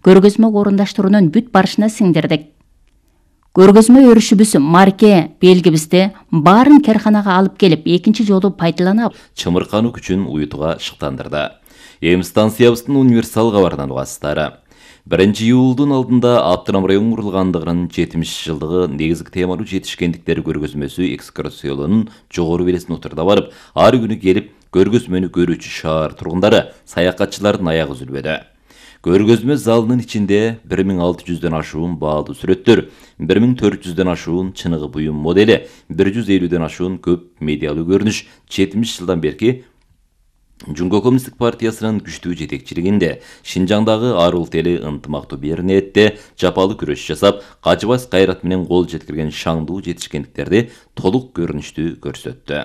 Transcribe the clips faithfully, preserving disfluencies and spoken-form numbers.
көргөзмө орундаштыруунун бүт барышына сиңдирдик. Көргөзмө өрүшүбүз марке белгибизди баарын керканага алып келип, экинчи жолу пайдаланып, чымыркануу күчүн уютууга шыктандырды. Эми станциябыздын универсал кабарынан угасыздар. биринчи июлдун алдында Аптырам район курулгандыгынын жетимиш жылдыгы негизги темалуу жетишкендиктер көргөзмөсү экскурсиялоонун жогору белесине учурда барып, ар күнү келип көргөзмөнү көрүүчү шаар тургундары, саякатчылардын аягы үзүлбөдү. Көргөзмө залынын ичинде бир миң алты жүздөн ашуун баалуу сүрөттөр, бир миң төрт жүздөн ашуун чыныгы буюм модели, бир жүз элүүдөн ашуун көп медиалуу көрүнүш жетимиш жылдан берки Жумго Коммунисттик партиясынын күчтүү жетекчилигинде Шинжаңдагы ар улут эли ынтымактуу берниетте жапалуу күрөш жасап, качыбас кайрат менен кол жеткирген шаңдуу жетишкендиктерди толук көрүнүштүү көрсөттү.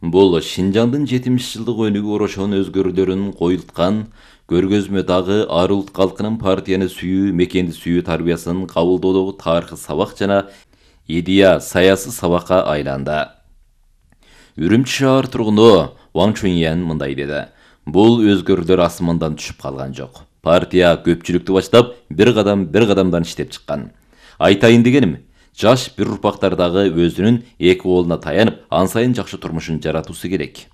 Бул Шинжаңдын жетимиш жылдык өнүгүү орошон өзгөрүүлөрүн коюлткан көргөзмө дагы ар улут калкынын партияны сүйүү, мекенди сүйүү тарбиясын кабылдоодогу тарыхый сабак жана идея саясий сабакка айланды. Үрүмчү шаар тургуну Ван Чуньян мындай деди. Бул өзгөрүүлөр асмандан түшүп калган жок. Партия көпчүлүктү баштап, бир кадам бир кадамдан иштеп чыккан. Айтайын дегеним, жаш бир урпактар дагы өзүнүн эки колуна таянып, ан сайын жакшы турмушун жаратуусу керек.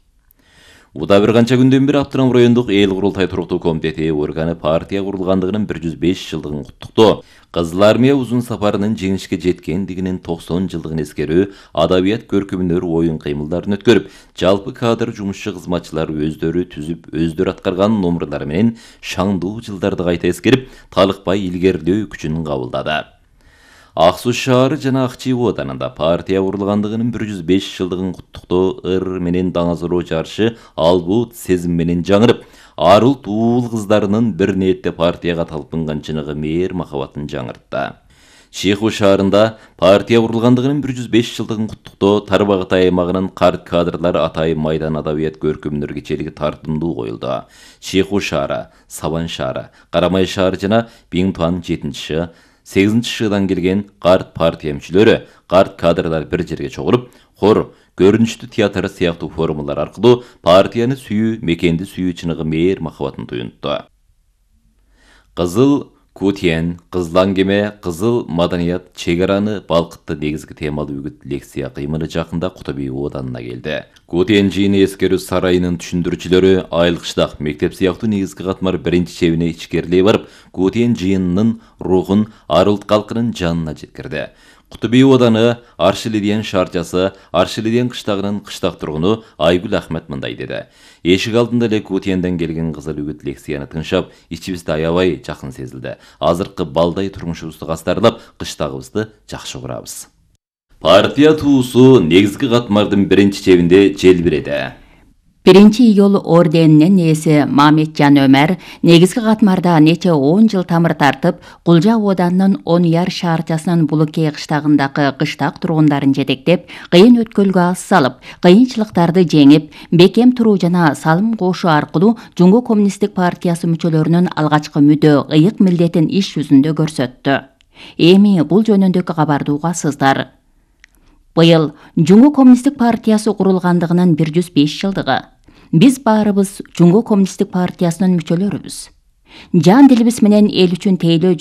Уда бир канча күндөн бери Аптырам райондук эл курултай туруктуу комитети органы партия курулгандыгынын бир жүз беш жылдыгын куттуктоо, Кызыл армия узун сапарынын жеңишке жеткендигинин токсон жылдыгын эскерүү, адабият көркөмдөр оюн кыймылдарын өткөрүп, жалпы кадр жумушчу кызматчылар өздөрү түзүп, өздөрү аткарган номерлары менен шаңдуу жылдарды кайта эскерип, талыкпай илгерилөө күчүн кабылдады. Ак Суу шаары жана Ак Чүй оданында партия курулгандыгынын бир жүз беш жылдыгын куттуктоо ыр менен даңазыроо жарышы албут сезим менен жаңырып, ар улут уул кыздарынын бир ниетте партияга талпынган чыныгы мээр махабатын жаңыртты. Чийху шаарында партия курулгандыгынын бир жүз беш жылдыгын куттуктоо Тарбагытай аймагынын карт кадрлар Атайын майдан адабият көркөмдөр кечелиги тартымдуу коюлду. Чийху шаары, Сабан шаары, Карамай шаары жана Биңтуан жетинчи сегизинчи шыдан келген карт партия мүчөлөрү, карт кадрлар бир жерге чогулуп, хор, көрүнүштүү театр сыяктуу формалар аркылуу партияны сүйүү, мекенди сүйүү чыныгы мээр махабатын туюнтту. Кызыл Кутен, Кызыл аңгеме, Кызыл маданият чек араны балкытты негизги темалуу үгүт лекция кыймылы жакында Кутуби оданына келди. Кутен жыйыны эскерүү сарайынын түшүндүрүүчүлөрү Айыл кыштак мектеп сыяктуу негизги катмар биринчи чебине ичкерилей барып, Кутен жыйынынын рухун ар улут калкынын жанына жеткирди. Кутуби оданы Аршилиден шаарчасы, Аршилиден кыштагынын кыштак тургуну Айгүл Ахмет мындай деди. Эшик алдында эле Кутенден келген кызыл үгүт лекцияны тыңшап, ичибизде аябай жакын сезилди. Азыркы балдай турмушубузду кастарлап, кыштагыбызды жакшы көрөбүз. Партия туусу негизги катмардын биринчи чебинде желбиреди. Биринчи июл орденинин ээси Мамеджан Өмөр негизги катмарда нече он жыл тамыр тартып, Кулжа оданынын он яр шаарчасынын Булукей кыштагындагы кыштак тургундарын жетектеп, кыйын өткөлгө ас салып, кыйынчылыктарды жеңип, бекем туруу жана салым кошуу аркылуу Жумго Коммунисттик партиясы мүчөлөрүнүн алгачкы мүдө, ыйык милдетин иш жүзүндө көрсөттү. Эми бул жөнүндөгү кабарды угасыздар. Быйыл Жумго Коммунисттик партиясы курулгандыгынын бир жүз беш жылдыгы. Биз баарыбыз Жумго Коммунисттик партиясынын мүчөлөрүбүз. Жан дилибиз менен эл үчүн тейлөө